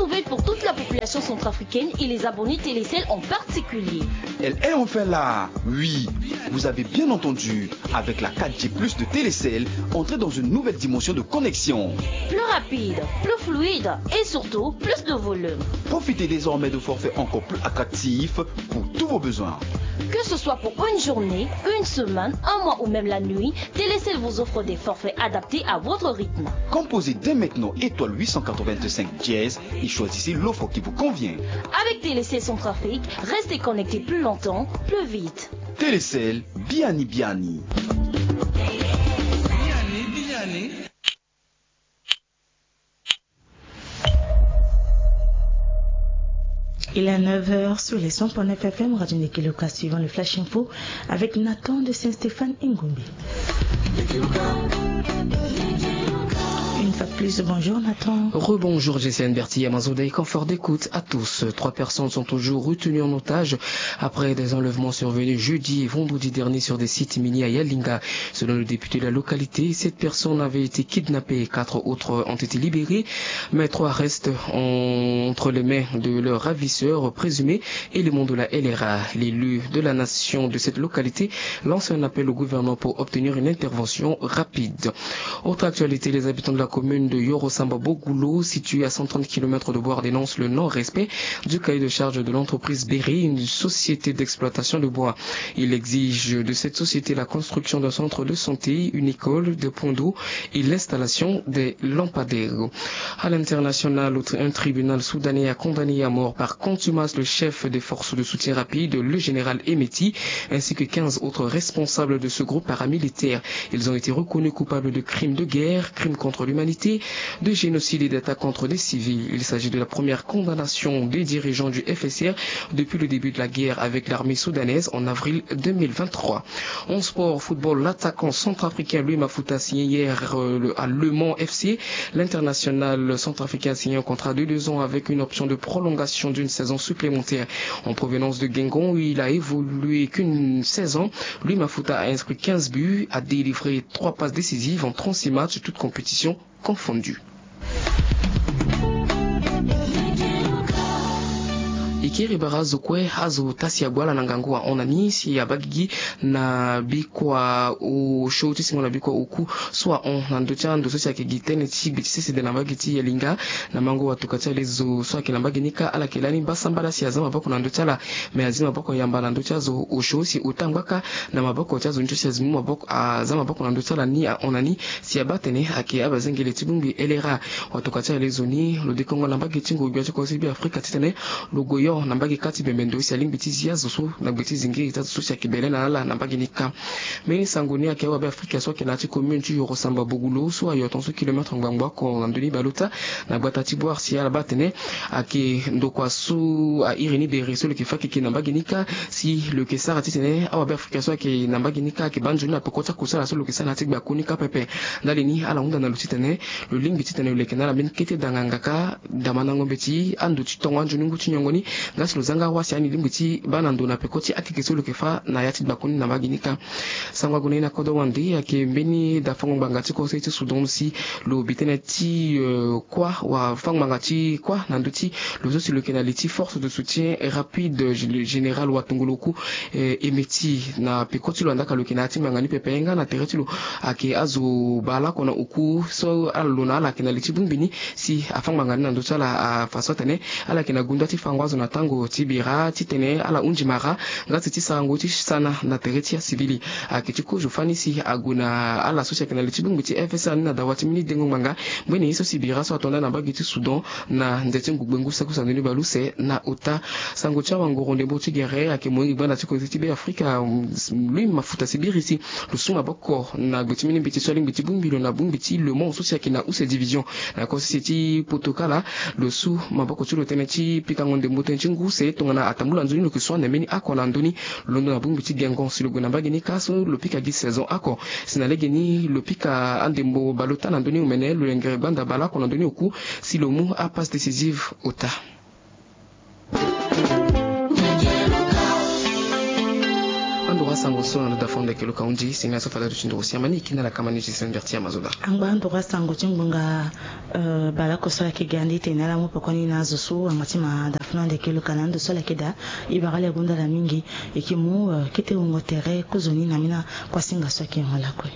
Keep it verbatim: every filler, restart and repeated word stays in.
Nouvelle pour toute la population centrafricaine et les abonnés Télécel en particulier. Elle est enfin là. Oui, vous avez bien entendu. Avec la quatre G plus de Télécel, entrez dans une nouvelle dimension de connexion. Plus rapide, plus fluide et surtout plus de volume. Profitez désormais de forfaits encore plus attractifs pour tous vos besoins. Que ce soit pour une journée, une semaine, un mois ou même la nuit, Télécel vous offre des forfaits adaptés à votre rythme. Composez dès maintenant étoile huit cent quatre-vingt-cinq dièse et choisissez l'offre qui vous convient. Avec Télécel Centrafrique, restez connecté plus longtemps, plus vite. Télécel, biani biani. Il est neuf heures sur les cent point neuf F M, Radio Nikiloka, suivant le Flash Info avec Nathan de Saint-Stéphane Ingombe. Une fois de plus, bonjour Nathan. Rebonjour J C N Berti, Amazon Day, confort d'écoute à tous. Trois personnes sont toujours retenues en otage après des enlèvements survenus jeudi et vendredi dernier sur des sites miniers à Yalinga. Selon le député de la localité, sept personnes avaient été kidnappées, quatre autres ont été libérées, mais trois restent en- entre les mains de leurs ravisseurs présumés, éléments de la L R A. L'élu de la nation de cette localité lance un appel au gouvernement pour obtenir une intervention rapide. Autre actualité, les habitants de la commune de Yorosamba Bogulo, située à cent trente kilomètres de Boire, dénoncent le non-respect du cahier de charge de l'entreprise Berry, une société d'exploitation de bois. Ils exigent de cette société la construction d'un centre de santé, une école, des points d'eau et l'installation des lampadaires. À l'international, un tribunal soudanais a condamné à mort par contumace le chef des forces de soutien rapide, le général Hemeti, ainsi que quinze autres responsables de ce groupe paramilitaire. Ils ont été reconnus coupables de crimes de guerre, crimes contre l'humanité, de génocide et d'attaques contre des civils. Il s'agit de la première condamnation des dirigeants du F S R depuis le début de la guerre avec l'armée soudanaise en avril deux mille vingt-trois. En sport, football, l'attaquant centrafricain Louis Mafuta a signé hier, euh, le- à Le Mans F C. L'international centrafricain a signé un contrat de deux ans avec une option de prolongation d'une saison supplémentaire. En provenance de Guingamp, où il a évolué qu'une saison, Louis Mafuta a inscrit quinze buts, a délivré trois passes décisives en trente-six matchs, toutes compétitions confondues. E kiri bara azo kue azo tasi ague ala na ngangu ahon na ni si abaa gigi na bikua osio ti singo na bikua oku so ahon na ndö ti ando so si ayeke gi tënë ti gbe ti sese de na mbage ti Yalinga. Na mango watuka ti alezo so ayeke na mbage ni kâ, ala yeke lani baa sambala si aza maboko na ndö ti ala. Me azi maboko yamba na ndö ti azo osio si ota ngbaka na maboko ti azo ni so si azi mu maboko aza maboko na ndö ti ala ni ahon na ni. Si abaa atene ayeke abazengele ti bongbi L R A. Watuka ti alezo ni lo dekongo na mbage ti ngu gbia ti kodro ti Be Afrika titene lo gue yo na mbage kâ ti bembe ndo si alingbi ti zi azo so na gbe ti zingiri ti azo so si ayeke bele na ala na mbage ni kâ. Mbeni sango ni ayeke awabe Afrika so ayeke na ya ti commune ti Yoro Samba Bogulo so ayo tongaso kilomètre ngbangbo oko na ndö ni baleota na gbata ti Boire si ala baa atene ayeke ndokua so a iri ni bere so lo yeke fâ keke na mbage ni kâ. Si lo yeke sara titene awabe Afrika so ayeke na mbage ni kâ ayeke baa nzoni na peko ti akusala so lo yeke sara na ya ti gbakoni kâ pepe. Ndali ni ala hunda na lo titene lo lingbi titene lo yeke na ala mbeni kete danganga kâ damandango mbeti ando ti tongo anzoni ngu ti nyongo ni. Nga si lo zanga wâ si ani lingbi ti baa na ndo na peko ti akeke so lo yeke fâ na ya ti gbakoni na mbage ni kâ. Sango ague na e na kodro wande ayeke mbeni dafango ngbanga ti kose ti Soudan si lo bi tënë ti, euh, kuâ wa fango ngbanga ti kuâ na ndö ti lo so si lo yeke na li ti force de soutien rapide, euh, général watongolo oku, euh, Hemeti na peko ti lo andaa ka lo yeke na ya ti ngbanga ni pepe nga na tere ti lo ayeke azo baleoko na oku so ala lo na ala ayeke na li ti bongbi ni. Si afa ngbanga ni na ndö ti ala afa so atene ala yeke na gunda ti fango azo na tango ti bira titene ala hunzi mara nga si ti sarango ti sana na tere ti asivili. Ayeke ti kozo fani si ague na ala so si ayeke na li ti bongbi ti F S R ni na dawa ti mbeni dengo ngbanga mbeni ye so si bira so ato nda na mbage ti Soudan na nze ti ngugbe ngu saki so andoni baleuse na ota. Sango ti awangoro ndembo ti gere ayeke moyenge gbanda ti koze ti Be Afrika, mm, Louis Mafuta si biri si lo su maboko na gbe ti mbeni mbeti so alingbi ti bongbi lo na bongbi ti Le Mans so si ayeke na use division na kosese ti poto kala. Lo su maboko ti lo tënë ti pikango ndembo tënë ti ngu se tongana atambula nzoni lo yeke su ande mbeni oko na ndö ni. Londo na bongbi ti Guingamp si lo gue na mbage ni kâ so lo pika gi saison oko. Si na lege ni lo pika andembo baleota na ndö ni omene lo lengere gbanda baleoko na ndö ni oku si lo mu apasse décisive ota. Androit Sango so na ndo dafon ndeke luka hundi si na so fala duti nduru siama ni kina la kamani ti sendere ti amazoda. Angba nduru asango ti ngbonga. Bala koso ala ke ga ndi tene ala mu poko ni na azo so angba ti ma dafon ndeke luka na ndo so ala ke da. Ibara ala gonda la mingi. Eke mu kete wongo tere kozoni na mina. Kwa singa so ake mo lakue.